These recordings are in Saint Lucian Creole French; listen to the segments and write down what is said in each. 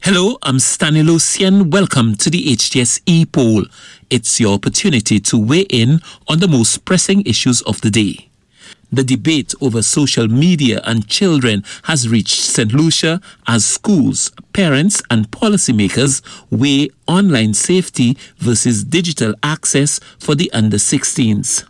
Hello, I'm Stanley Lucien. Welcome to the HTS e-poll. It's your opportunity to weigh in on the most pressing issues of the day. The debate over social media and children has reached St. Lucia as schools, parents, and policymakers weigh online safety versus digital access for the under 16s.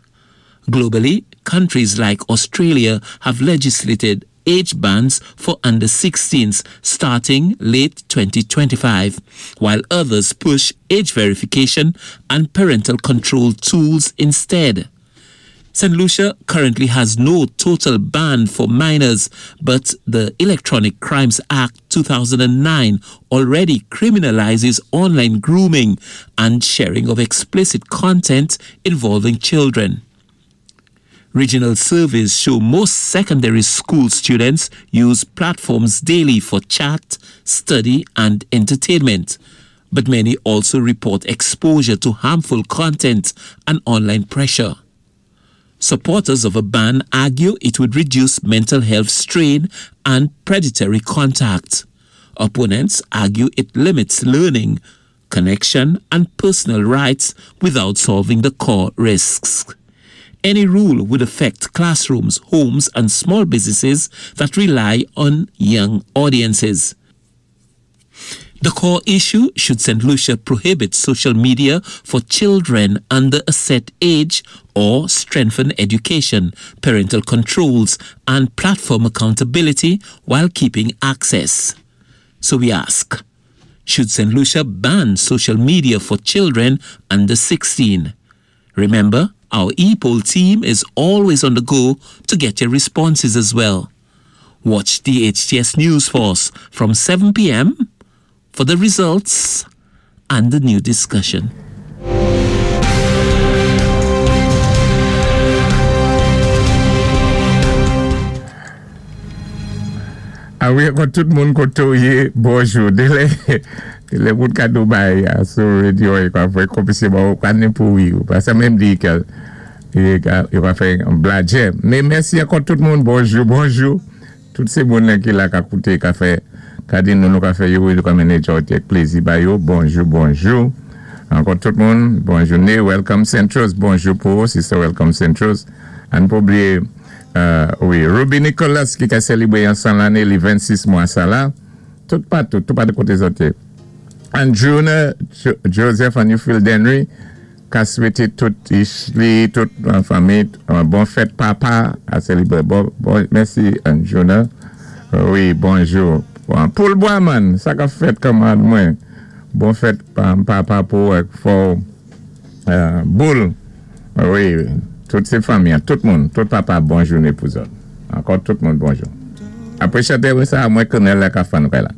Globally, countries like Australia have legislated age bans for under 16s starting late 2025, while others push age verification and parental control tools instead. St. Lucia currently has no total ban for minors, but the Electronic Crimes Act 2009 already criminalizes online grooming and sharing of explicit content involving children. Regional surveys show most secondary school students use platforms daily for chat, study, and entertainment. But many also report exposure to harmful content and online pressure. Supporters of a ban argue it would reduce mental health strain and predatory contact. Opponents argue it limits learning, connection, and personal rights without solving the core risks. Any rule would affect classrooms, homes, and small businesses that rely on young audiences. The core issue should St. Lucia prohibit social media for children under a set age or strengthen education, parental controls, and platform accountability while keeping access? So we ask Should St. Lucia ban social media for children under 16? Remember, our e-poll team is always on the go to get your responses as well. Watch the HTS News Force from 7 p.m. for the results and the new discussion. A wi ankò tout moun kote w yé bonjou delè delè moun ka do bay a sou radio yo ka fè konpise ba ou ka ni pou wi ou pa sa menm di ke yo ka fè bladjè men mèsi ankò tout moun bonjou bonjou. Tout se moun ki la ka koute ka fè ka di nou nou ka fè yo wi nou ka mennen jòti ak plezi ba yo bonjou bonjou ankò tout moun bon joune welcome Saintrose bonjou pou ou sister welcome Saintrose ann pa bliye wi Ruby Nicholas ki ka selebre yon 100 lane li 26 mwa sa la tout patou tout patou kote zòt ye Androuna Joseph and you feel Denry. Ka swete tout Ishley tout fanmi bon fèt papa a selebre bon bon mèsi Anjuna wi bonjou poul bwamann sa kap fèt kanmarad mwen bon fèt papa pou ou ak fòw boul wi tout se fanmi an tout moun tout papa bon joune pou zòt ankò tout moun bonjou apre chante sa mwen konnenl la ka fann kay la.